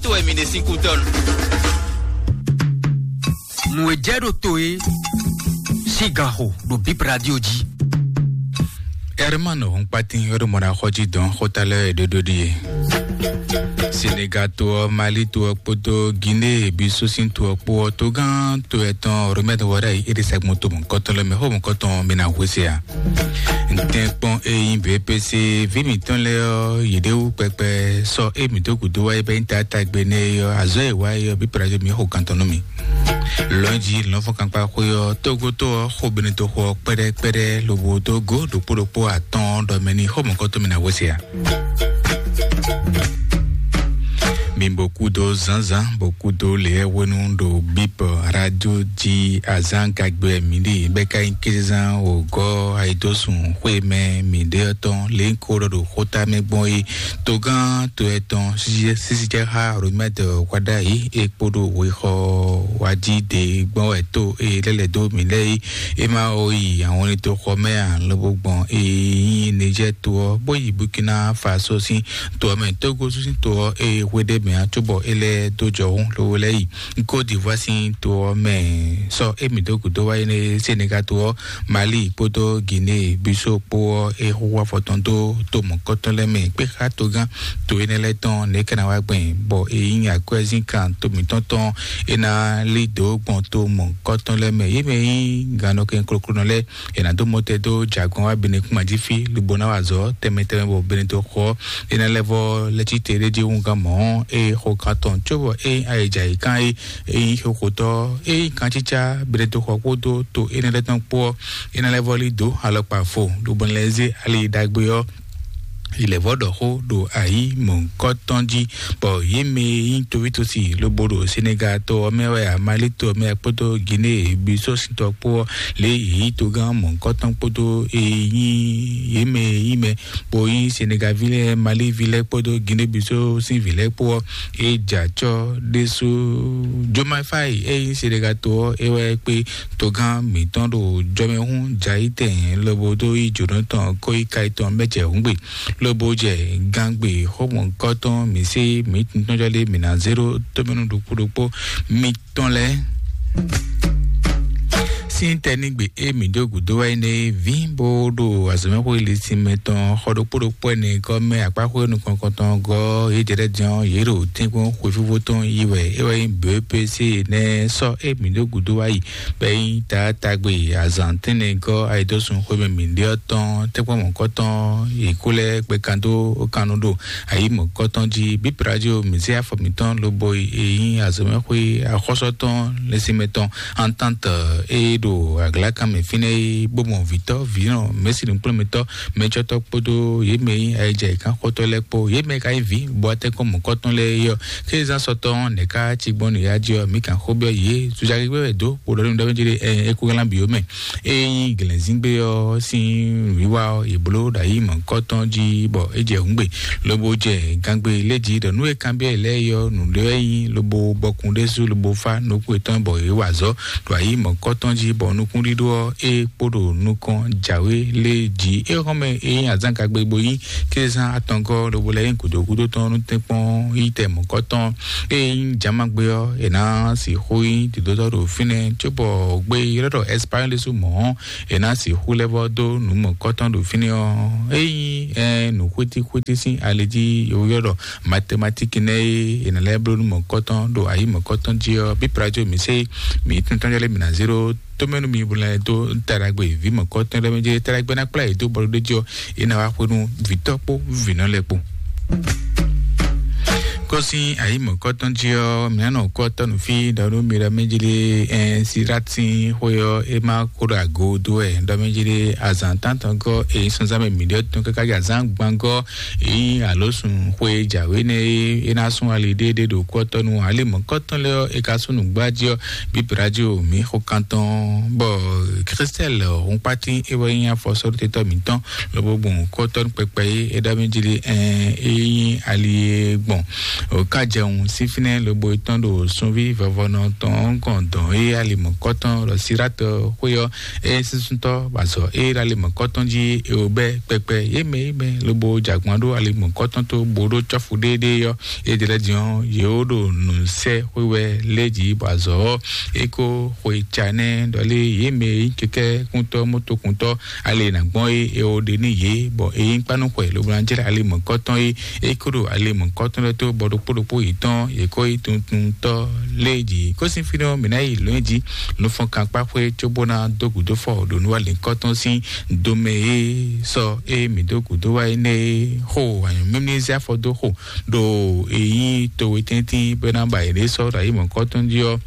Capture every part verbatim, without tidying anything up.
To wɛ mi ɖe sín kú tɔn. Nǔ e jɛ ɖo to e sín gan xo ɖo Bip Radio jí. Herman Hɔnkpatin wɛ ɖo mɔ ɖo axɔ jí dɔn xóta lɛ́ɛ e ɖóɖó ɖíe. Senegal to ɔ́, Mali to ɔ́ kpódó Guinée Bissau sín to ɔ́ kpó ɔ́, togán to etɔn Romain Wara yi é ɖe sɛgbɔn to mɔ̌kɔtɔn lɛ́ɛ mɛ, xó mɔ̌kɔtɔn mi ná hwesé a? Ntɛ́nkpɔ́n e nyí B P C ví mǐtɔn lɛ́ɛ ɔ́, yě ɖe wú kpɛkpɛ sɔ́ é mǐ dó gǔdo wá é bɛ́ nyí taátagbe nɛ́ é ɔ́, azɔ̌ e wá é ɔ́, bí Prazo mǐ xo kan tɔn nú mì. Lɔ̌njí lɔ̌nfɔ́nkankpa xwé ɔ́, tógótó ɔ́, xo Benito xo ɔ́ kpɛ́ɖɛ́ kpɛ́ɖɛ́ lobo dó gǒ ɖokpó ɖokpó atɔ́ɔ́n ɖɔ mɛ ní xó mɔ̌kɔtɔn mì ná hwesé a? Mi bó kúdó zǎnzǎn, bó kúdó lě hwenu ɖo Bip Radio jí azǎn gagbe mǐ ɖe bɛ́ ka nyí kézezán wǒgɔ́ ayidósun xwé mɛ mǐ ɖe ɔ́ tɔn lě ko ɖɔ ɖo xóta mɛ gbɔn é. Togán to etɔn sísíjɛxá Romɛd Wadayi é kpódó wexɔ wájí ɖě gbɔn wɛ tó é lɛ́ lɛ̌ dó mǐ lɛ́ɛ é. É má ó yi àwọn ní tó xɔ mɛ ǎ, lobo gbɔn é nyí Niger to ɔ́, bó yi Burkina Faso sín to ɔ́ mɛ, Togo sín to ɔ́, ée hwe ɖé mɛ ǎ, cóbɔ é lɛ́ dó jɔhún lobo lɛ́ yi Côte d'Ivoire sín to ɔ́ mɛ. Sɔ émí dó gǔdo wá yi nɛ Senegal to ɔ́, Mali kpódó Guinée Bissau kpó ɔ́, é xúxú afɔ tɔn dó to mɔ̌kɔtɔn lɛ́ɛ mɛ, kpé xá togán to énɛ́ lɛ́ɛ tɔn nɛ̌ ká ná wá gbɛn, bɔ é nyí akwɛ́zínkan to mǐtɔn tɔn, é ná lí dǒ gbɔn to mɔ̌kɔtɔn lɛ́ɛ mɛ. Yě mɛ nyí gannɔkɛn kloklonɔ lɛ́ɛ, è nǎ dó mɔtɛn dó jɛ agɔn wá Benɛkúma jí fí, lobo ná wa azɔ̌ tɛnmɛ tɛnmɛ bɔ Benɛto xɔ ɔ́, é ná lɛ́ vɔ́ lɛ́ cí te ɖé jí húngán mɔ̌ ɔ́, é xo kan tɔn cóbɔ é nyí ayǐjayǐkan é, é nyí xóxotɔ́, é nyí kancícá Benɛto xɔ kpódó to énɛ́ lɛ́ɛ tɔn kpó ɔ́, é ná lɛ́ vɔ́ lí dǒ alɔkpa fo, lobo ná lɛ́ zé ali ɖagbe ɔ́ yi lɛ̌ vɔ́ ɖɔ xó ɖo ayǐ mɔ̌hunkɔtɔn jí, bɔ yě mɛ e nyí tovítosi lobo ɖo Senegal to ɔ́ mɛ wɛ, Mali to ɔ́ mɛ kpódó Guinée Bissau sín tɔ kpó ɔ́, lě yě nyí togán mɔ̌hunkɔtɔn kpódó e nyí yě mɛ e nyí mɛ bó nyí Senegal ví lɛ́ɛ, Mali ví lɛ́ɛ kpódó Guinée Bissau sín vǐ lɛ́ɛ kpó ɔ́, é jɛ acɔ́ ɖésú. Jomayi Fayi e nyí Senegal to ɔ́, é wɛ kpé togán mǐtɔn ɖo jɔmɛhún jayítɛn lobo dó yi jǒnɔ tɔn kó yi ka tɔn mɛ jɛ hǔngbe, lobo jɛ gangbe xɔmɔgɔtɔn mǐ sé mǐ tuntun jɔ lé mǐ ná zé ɖó tómɛnú ɖokpó ɖokpó mitɔn lɛ́ɛ. Sín tɛnígbe e mǐ dó gǔdo wá yi nɛ ví bó ɖo azɔ̌mɛxwé lisin mɛ tɔn xɔ ɖokpó ɖokpó ɛnɛ gɔ́ mɛ akpáxwé nukɔn kɔntɔn gɔ́ yě jɛ ɖɛ́ din ɔ́, yě ɖo tɛ́nkpɔ́n xwefífó tɔn yi wɛ é wɛ nyí B P C nɛ́ sɔ́ e mǐ dó gǔdo wá yi bɔ é nyí taatagbe azǎn tɛ́nnɛ gɔ́ ayidósun xwé mɛ mǐ ɖe ɔ́ tɔn tɛ́nkpɔ́n mɔ̌kɔtɔn yě kó lɛ́ gbɛ kan dó kan nu ɖo ayǐ mɔ̌kɔtɔn jí. Bíp Radio mǐ zé afɔ mǐtɔn lobo yi e nyí azɔ̌mɛxwé axɔ́sɔ́tɔn lɛ́sínmɛ tɔn Entente e ɖo aglakan mɛ fínɛ́ é bó mɔ vǐtɔ́ vǐnɔ mɛ̌si nǔkplɔ́nmɛtɔ́ mɛcɔ́tɔ́ kpódó yě mɛ e nyí ayijɛ́kánxɔtɔ́ lɛ́ɛ kpó yě mɛ ka nyí vǐ bó atɛ́nkɔ́n mɔ̌kɔtɔn lɛ́ɛ é ɔ́, kézán sɔtɔn nɛ̌ ká cí gbɔn nǔ ya jí ɔ́, mǐ kan xó byɔ́ yě zuzagígbé wɛ dó bó ɖɔ nú ɖɔ mí jí ɖé ɛ é kó glán bǐ ó mɛ. Ényí glɛ̌nzíngbe ɔ́ sín nǔwiwa ɔ́, è bló ɖo ayi mɔ̌hunkɔtɔn jí bɔ é jɛ hǔngbe, lobo jɛ gangbe lé jí ɖɔ nú è kanbyɔ́ yě lɛ́ɛ é ɔ́, nǔɖé wɛ nyí lobo bɔkun ɖésú lobo fá nukún yětɔn bɔ yě wa azɔ̌ ɖo ayi mɔ̌hunkɔtɔn jí bɔ nukúnɖíɖó ɔ́, é kpo ɖo nukɔn jǎwe lé jí. É xɔ́mɛ é nyí azǎn kagbe bo nyí kézán atɔngɔ́ lobo lɛ́ nyí gǔdo gúdo tɔn nú tɛ́nkpɔ́n yi tɛ mɔ̌hunkɔtɔn. Ényí jǎmagbe ɔ́, è nǎ sixú nyí dǐdótɔ́ ɖo fínɛ́, cóbɔ gbé ylɔ́ ɖɔ Ɛspáɲɔ́li ɖésú mɔ̌ ɔ́, è nǎ sixú lɛ́ vɔ́ dó nǔ mɔ̌kɔtɔn ɖo fínɛ́ ɔ́, ényí ɛ nǔ xwítíxwítí sín ali jí yovó ylɔ́ ɖɔ matematíki nɛ́ é, è nǎ lɛ́ bló nú mɔ̌kɔtɔn ɖo ayǐ mɔ̌kɔtɔn jí ɔ́, bí Prajo mǐ sé mǐ tɔn tɔn jɔ lé mǐ ná zé ɖó tómɛ́nú mi bo lɛ́ dó taɖagbe vǐ mɔ̌kɔtɔn lɛ́ɛ mɛ jí taɖagbe ná kplá yě dó bɔlú ɖé jí ɔ́, é ná wá xwé nú vǐtɔ́ kpó vǐnɔ lɛ́ɛ kpó. Kɔ́sín ayǐ mɔ̌kɔtɔn jí ɔ́, mǐ ná nɔ kɔ́ tɔ́ nǔ fí ɖɔ nú mi ɖɔ mɛ jí lé ɛn Silátin xwé ɔ́, é má kó ɖo ago dó wɛ ɖɔ mɛ jí lé azǎn tántɔn gɔ́ èyí sɔ́nzán mɛ mǐ ɖɔ tɔn káká jí azǎn gbangɔ́ èyí alǒ sun xwé jǎwe nɛ́ é, é ná sún ali ɖéɖé ɖo kɔ́ tɔ́ nú ali mɔ̌kɔtɔn lɛ́ɛ ɔ́, é ka sún nǔgbá jí ɔ́, bí Prajo mǐ xo kan tɔn bɔ Christelle Hunkpatin é wɛ nyí afɔsɔ́ɖótɛ́tɔ́ mǐtɔn lobo gbɔn kɔ́tɔ́ kpɛkpɛ é é ɖɔ mɛ jí lé ɛn é nyí ali e gbɔn O ka jɛun sín fínɛ́ lobo tɔn ɖo sunví vɔvɔnɔ tɔn kɔn dɔn e alimɔkɔtɔn lɔ siratɔ xwé ɔ́, e sísúntɔ bazɔ e alimɔkɔtɔn jí e o bɛ kpɛkpɛ yé mɛ yé mɛ lobo jagbɔn ɖo alimɔkɔtɔn tó bo ɖo cɔfu ɖéɖé ɔ́, e ɖe lɛ din ɔ́, yě wo ɖo nǔ sɛ xwé wɛ lé jí bɔ azɔ ɔ́, e ko xwe ca nɛ ɖɔlé yé mɛ yi kɛkɛ kúntɔ mɔtokúntɔ ale nǎ gbɔn é, e o ɖe ní yě, bɔ e nyí kpánúxwɛ lobo ná jlɛ́ ale mɔ̌kɔtɔn é, e kó ɖo ale mɔ̌kɔtɔn lɛ́ɛ tó, bɔ ɖokpó ɖokpó yětɔn yě kó yi tuntuntɔ lé jí. Kó sín fínɛ́ ɔ́, mǐ ná yi lǒn jí nufɔnkankpáxwé cóbó ná dó gǔdo fɔ ɖo nǔwalǐnkɔtɔn sín domɛ é sɔ é mǐ dó gǔdo wá énɛ́ é xo anyǔmímí zé afɔ dó xo ɖo e nyí towe tɛ́ntin bɔ é ná ba yě ɖě sɔ́ ɖo ayǐ mɔ̌kɔtɔn jí ɔ́,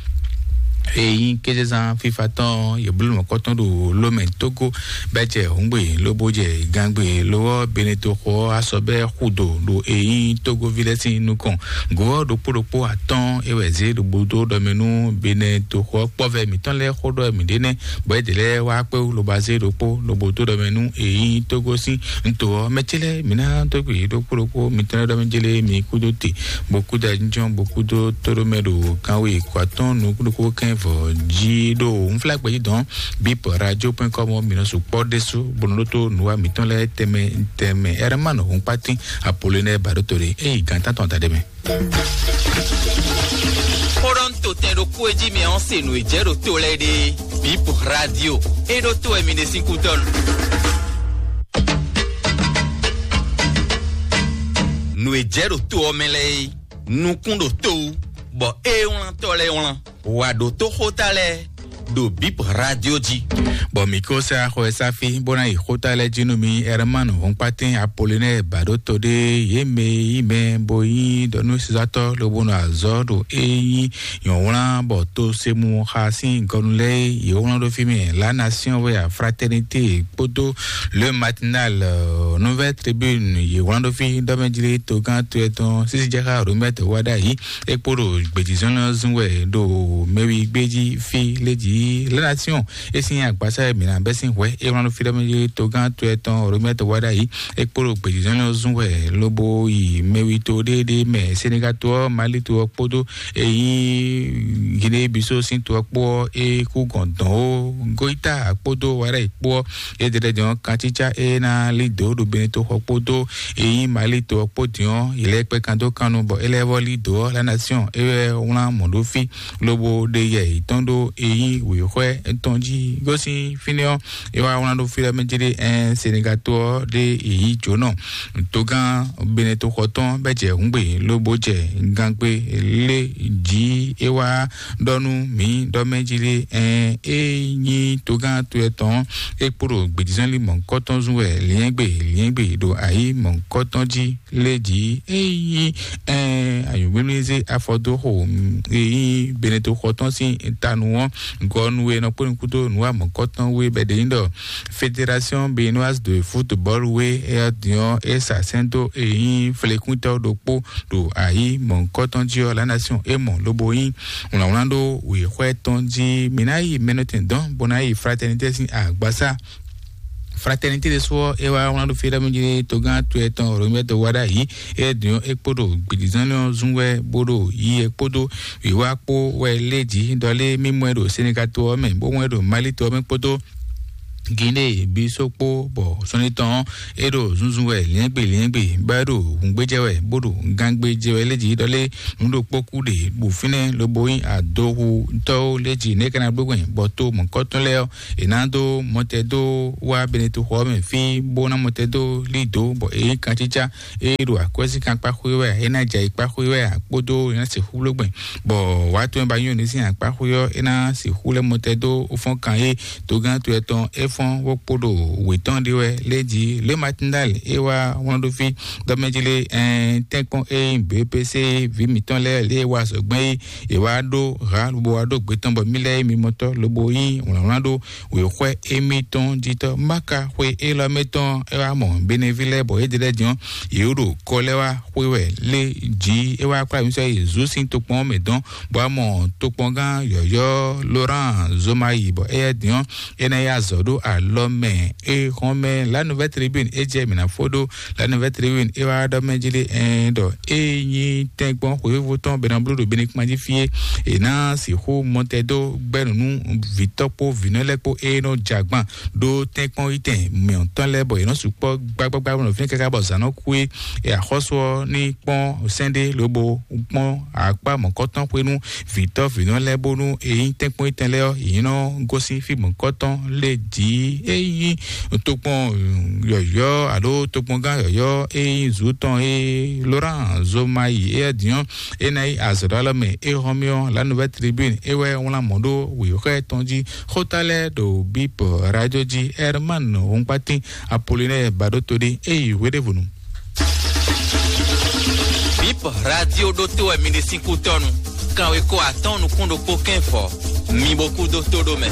e nyí kézezán fífa tɔn yě bló mɔ̌kɔtɔn ɖo lómɛ tógó bɛ́ jɛ hǔngbè lobo jɛ gangbe lo ɔ́, beneto xɔ ɔ́ asɔ bɛ́ xu do ɖo e nyí tógóví lɛ́ɛ sín nukɔn. Gǒ ɔ́ ɖokpó ɖokpó atɔ́ɔ́n é wɛ zě ɖo gbodo ɖɔ mɛ nú beneto xɔ ɔ́ kpɔ́vɛ mǐtɔn lɛ́ɛ xó ɖɔ mǐ ɖe nɛ́, bɔ é ɖě lɛ́ɛ wá kpé wú lobo azé ɖokpó lobo dó ɖɔ mɛ nú e nyí tógó sín nto ɔ́. Mɛ ce lɛ́ɛ mǐ ná dó gbe yě ɖokpó ɖokpó mitɔn lɛ́ɛ ɖɔ mɛ jélé mi kúdó te, bó kúdó ajínjɔ́n, bó kúdó tóɖómɛ ɖo kanwe kó atɔ́ɔ́n nukúnnukún kɛ́n vɔ jí ɖo nflágbɛjí dɔn bip radio point com ɔ́, mǐ nɔ sukpɔ́ ɖésú bó nɔ ɖótó nǔwa mǐtɔn lɛ́ɛ tɛnmɛ tɛnmɛ. Ɛrɛmánu Hɔnkpátín Apolonɛ Baɖótole, é yi gǎn tántɔn da ɖé mɛ. Xó ɖɔ un to tɛn ɖokpó e jí mɛ ɔ́ se nǔ e jɛ ɖo to lɛ́ɛ ɖe. Bip radio, é ɖó to wɛ mi ɖe sín kútɔ́ nu. Nǔ e jɛ ɖo to ɔ́ mɛ lɛ́ɛ é, nukún ɖo to wú, bɔ é wlán tɔ́ lɛ́ɛ wlán. Wǎ ɖótó xóta lɛ́ɛ ɖo bip radio jí. Bɔ mǐ ko sɛ axɔ e sáfí bó ná yi xóta lɛ́ɛ jí nú mi. Ɛrɛmánu Hɔnkpátín Apolonɛ Baɖótole, yě mɛ yí mɛ bó nyí ɖɔ nú sisatɔ́ lobo nɔ azɔ̌ ɖo é nyí nyɔ̌wlán bɔ to se mu xa sín gɔnu lɛ́ɛ é, yě wlán ɖó fí mɛ La Nation wɛ a, Fraternité kpódó Le Matinal, euh, Nouvelle Tribune, yě wlán ɖó fí ɖɔ mɛ jlé togán to etɔn sísí jɛ xá Romɛt wá ɖ'ayǐ. É kpó ɖo gbějízɔ́n lɛ́ɛ zún wɛ ɖo mɛwi gbéjí fí lé jí La Nation. É sín agbásá e mǐ ná bɛ́ sín hwɛ é wlán ɖó fí ɖɔ mɛ jlé togán to etɔn Romɛt wá ɖ'ayǐ. É kpó ɖo gbějízɔ́n lɛ́ɛ zún wɛ lobo yi mɛwi to ɖéɖé mɛ Senegal to ɔ́, Mali to ɔ́ kpódó e nyí Guinée Bissau sín to ɔ́ kpó ɔ́, é kú gɔn dɔn ó. Goita kpódó Wara kpó ɔ́, é ɖe lɛ́ dɔn kansítsá é ná lí dǒ ɖo Benin toxɔ kpódó e nyí Mali to ɔ́ kpó din ɔ́, yě lɛ́ kpɛ́ kan dó kan nu bɔ é lɛ́ vɔ́ lí dǒ ɔ́, La Nation é wɛ wlán mɔ̌ ɖó fí lobo ɖe yɛ yětɔn ɖó e nyí wěxwɛ́ tɔn jí. Gosín fínɛ́ ɔ́, é wá wlán ɖó fí lɛ́ɛ mɛ jí ɖé ɛn Senegal to ɔ́ ɖé e yí jǒnɔ togán Benin toxɔ tɔn bɛ jɛ hǔngbe lobo jɛ gangbe lé jí é wá ɖɔ nú mǐ ɖɔ mɛ jí lé ɛn é nyí togán to etɔn é kpo ɖo gbějízán lí mɔ̌hunkɔtɔn zún wɛ liɛ́ngbe liɛ́ngbe ɖo ayǐ mɔ̌hunkɔtɔn jí lé jí é nyí ɛn anyǔgbémlízé afɔdóxo e nyí Benin toxɔ tɔn sín tanu ɔ́ gɔnu e nɔ kpó nukúndó nǔwa mɔ̌hunkɔtɔn wé bɛ ɖe nyí ɖɔ Fédération Béninoise de Football wé é ɔ́ din ɔ́ é sa sɛ́n dó e nyí flekúntɔ́ ɖokpó ɖo ayǐ mɔ̌hunkɔtɔn jí ɔ́, La Nation é mɔ lobo nyí wlǎnwlán ɖó wěxwɛ́ tɔn jí. Mǐ ná yi mɛnɔtɛn dɔn bó ná yi Fraternité sín agbasá. Fraternité ɖésú ɔ́ é wá wlán ɖó fí ɖɔ mí jí togán to etɔn Romɛto wá ɖ'ayǐ. É din ɔ́ é kpó ɖo gbědizán lé ɔ́ zún wɛ bó ɖo yi é kpódó wǐwá kpó wɛ lé jí ɖɔ lé mí mɔ ɛ ɖo Senegal to ɔ́ mɛ bó mɔ ɛ ɖo Mali to ɔ́ mɛ kpódó Guinée Bissau kpó bɔ sɔ́ni tɔn ɔ́ é ɖo zunzun wɛ liɛ́ngbe liɛ́ngbe bɔ é ɖo hǔngbéjɛ wɛ bó ɖo gangbéjɛ wɛ lé jí ɖɔ lé nǔ ɖokpó kú ɖe bɔ fínɛ́ lobo nyí adohutɔ́wo lé jí nɛ́ ka ná gbégbɛn bɔ to mɔ̌kɔtɔn lɛ́ɛ ɔ́ è nǎ dó mɔtɛ dó wá Benin toxo ɔ́ mɛ fí bó ná mɔtɛ dó lí dǒ bɔ é nyí kancícá é ɖo akwɛ́síkan kpáxwé wɛ é ná jɛ ayǐ kpáxwé wɛ kpódó é ná sixú bló gbɛn bɔ wǎ tɔn e ba nyí òní sín akpáxwé ɔ́ é ná sixú lɛ́ mɔtɛ dó fɔ́n kan é togán to etɔn é fɔ́n bó kpo ɖo wětɔn ɖé wɛ lé jí lé matindal é wá wlán ɖó fí dɔmɛjlé ɛn tɛ́nkpɔ́n é nyí B P C vǐ mǐtɔn lɛ́ɛ lě e wá azɔ̌gbɛ́n é è wá ɖó ha lobo wá ɖó gbě tɔn bɔ mí lɛ́ɛ é mi mɔtɔ́ lobo nyí wlǎnwlán ɖó wěxwɛ́ émítɔn jí tɔ́. Máka xwe élɔ́ mɛ tɔn é wá mɔ Benevi lɛ́ɛ bɔ é ɖe lɛ́ɛ din ɔ́, yě ɖo kɔ lɛ́ɛ wá xwe wɛ lé jí é wá kplá mǐ sɔ́ yi Zú sín tokpɔn ɔ́ mɛ dɔn, bɔ wá mɔ tokpɔngán yɔ̌yɔ́ Laurent Zomayi bɔ éyɛ́ din ɔ́, é ná yi azɔ̌ ɖó alɔ mɛ. E hɔn mɛ La Nouvelle Tribune e jɛ mǐ ná fó ɖó. La Nouvelle Tribune e wá ɖɔ mɛ jí lé ɛn ɖɔ e nyi tɛngbɔn xwéfífó tɔn bɛnɛ bló ɖo bɛnɛ kpán jí fí e è nǎ sixú mɔtɛ dó gbɛ́nú nú vǐtɔ́ kpó vǐnɔ lɛ́ɛ kpó e nɔ jɛ agban ɖó tɛ́nkpɔ́n yi tɛn mǐtɔn lɛ́ɛ bɔ yě nɔ sukpɔ́ gbágbágbá nɔ fínɛ́ káká bɔ zǎn nɔ kú é. E axɔ́sú ɔ́ ní kpɔ́n sɛ́n ɖé lobo kpɔ́n akpá mɔ̌kɔ́tɔn xwé nú vǐtɔ́ vǐnɔ lɛ́ɛ bónú e nyí tɛ́nkpɔ́n yi tɛn lɛ́ɛ ɔ́, yě nɔ gosín fí mɔ̌kɔ́tɔn lé jǐ. E nyí tokpɔn yɔ̌yɔ́ alo tokpɔngán yɔ̌yɔ́ e nyí zǔ tɔn e Laurent Zomayi é dín ɔ́, é ná yi azɔ̌ ɖó alɔ mɛ. É hɔn mì ɔ́, La Nouvelle Tribune é wɛ wlán mɔ̌ ɖó wěxɔ́ tɔn jí. Xóta lɛ́ɛ ɖo Bip Radio jí. Herman Hɔnkpatín Apollinaire Baɖótodé é yi hweɖěvɔnu. Bip Radio ɖótó wɛ mi ɖe sín kútɔ́nu. Kanwekó atɔ́ɔ́n nukún ɖokpó kɛ́n fɔ. Mi bo kú dó tó ɖó mɛ.